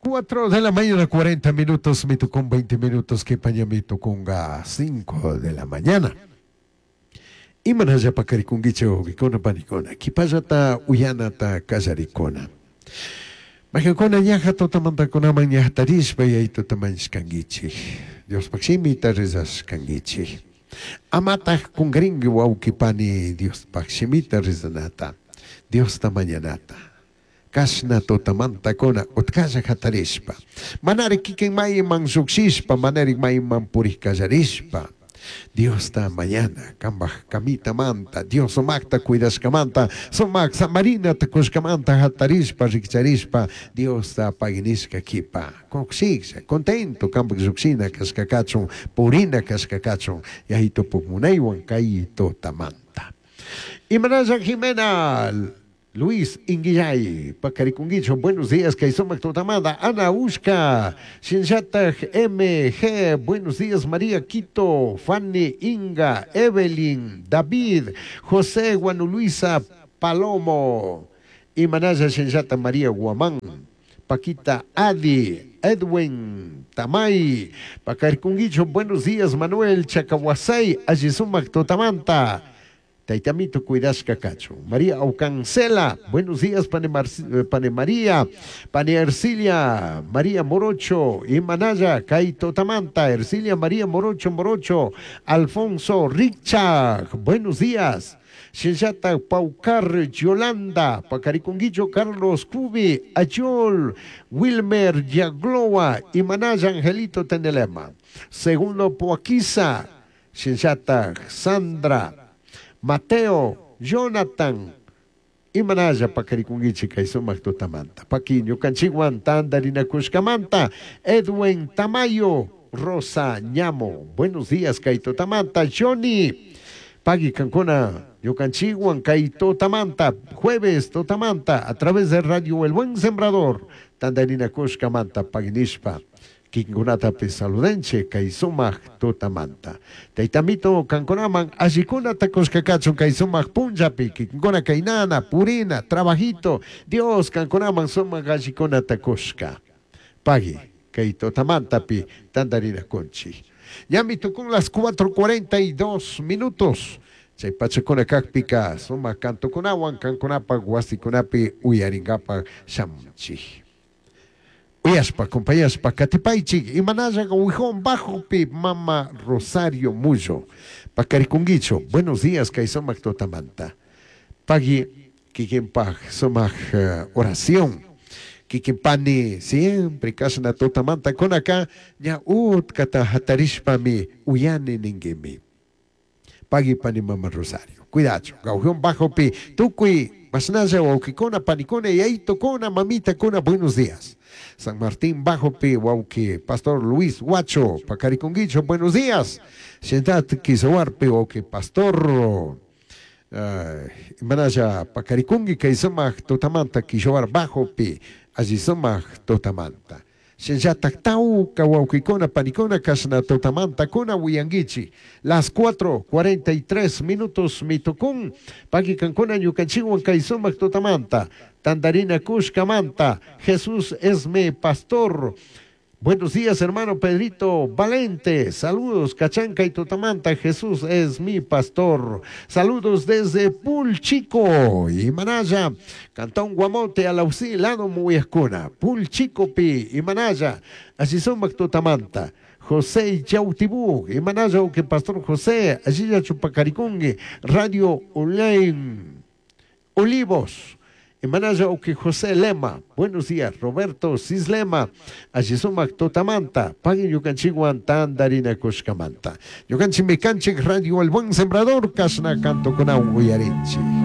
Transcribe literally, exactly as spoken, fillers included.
Cuatro de la mañana, cuarenta minutos, me tocó veinte minutos, que paña me tocó cinco de la mañana. Imanalla pakarikunkichik wawqikuna panikuna, kipallata uyanata kallarikuna. Majankuna ñaja tutamantakunaman ñajatarishpa yaytutamanshkankichik, Diospaq shimita rezashkankichik. Amataq kunkarinki wawqi pani Diospaq shimita rezanata, Diosta mañanata. Kashna tutamantakuna utkalla hatarishpa, manari kikin mayman lluqshishpa, manari mayman purik kallarishpa, Diosta mañana, kambaj kamitamanta, Dios sumakta cuidashkamanta, sumak samarinata kushkamanta hatarishpa, rikcharishpa, Diosta paginishka kipa, kushiklla, contento, kambaj lluqshina kashkakachun, purina kashkakachun, yaytupuk munaywan kay tutamanta. Imanalla Jimena Luis Inguillay, Pacarikunguicho, buenos días, kay sumak tutamanta, Ana Ushka, Shinchataj M G, buenos días, María Quito, Fanny Inga, Evelyn, David, José Guanuluisa Palomo, Imanaya Shinchata María Guamán, Paquita Adi, Edwin Tamay, Pacarikunguicho, buenos días, Manuel Chacahuasay, Allisumac tutamanta. Taitamito cuidashka kachu. María Aucancela, buenos días, Pane, Mar Pane María, Pane Ercilia, María Morocho, Imanaya, Kaito Tamanta, Ercilia María Morocho Morocho, Alfonso Richard, buenos días. Shellata Paucar Yolanda, Pacariconguillo Carlos Cubi, Ayol, Wilmer Yagloa, Imanaya Angelito Tenelema. Segundo Poaquiza, Shellata Sandra, Mateo, Jonathan, Imanaya pakarikunkichik kay sumaq tutamanta. Paki ñukanchikwan tantarinakushkamanta, Edwin Tamayo, Rosa Ñamo, buenos días kay tutamanta, Johnny, Pagui kankuna, ñukanchikwan kay tutamanta, jueves tutamanta, a través de Radio El Buen Sembrador, tantarinakushkamanta, paginishpa. Kikinkunatapi saludenche kay sumaq tutamanta. Taytamito kankunaman allikuna takushkakachun kay sumaq punllapi, kikinkuna kaynana, purina, trabajito, Dios kankunaman sumaq allikuna takushka. Pagui kay tutamantapi tantarinakunchik. Ñami tukun las cuatro cuarenta y dos minutos. Chay pachakuna kakpika sumaq kantukunawan kankunapaq wasikunapi uyarinkapak shamunchik. Uyaspa, acompañaspa, katipaychik, imanalla Huijón Bajopi, Mama Rosario Mullo, Pacarikunguicho, buenos días, kay sumaq tutamanta. Pagui, kikinpaj sumaq uh, oración, kikinpani, siempre kashna tutamanta kunaka, ña utkata hatarishpami, uyani ninguimi. Pagui pani Mama Rosario, cuidacho, Gaujión Bajopi, tukuy, masnalla, wawkikuna, panikuna, yaytukuna, mamita kuna, buenos días. San Martín Bajopi, wauki, Pastor Luis Huacho, Pacariconguicho, buenos días. Shentat Kizahuarpi, wauki, Pastor uh, Manaya Pacaricungui, Kaisumak, Totamanta, Kishoar Bajopi, Allisumak, Totamanta. Shenyatak Tauca, wauquicona, panicona, Kashna, Totamanta, Cona, Huianguichi. Las cuatro cuarenta y tres minutos, mitocún, Paquicancona, Yucanchihuan, Kaisumak, Totamanta. Tandarina Cushcamanta, Jesús es mi pastor. Buenos días, hermano Pedrito Valente. Saludos, Cachanca y Totamanta. Jesús es mi pastor. Saludos desde Pulchico y Manaya, Cantón Guamote, Alausí, Lado Muyascuna. Pulchico Pi y Manaya. Así son Totamanta. José Yautibú, y Manaya, que Pastor José, allí ya Chupacaricungue, Radio Online, Olivos. Imanaya que José Lema, buenos días, Roberto Cislema, Allisumac Totamanta, Paguen Yucanchiguan Tandarina Cushcamanta, Yucanchi Mecanchi, Radio El Buen Sembrador, Kashna Canto con Uyarinchi.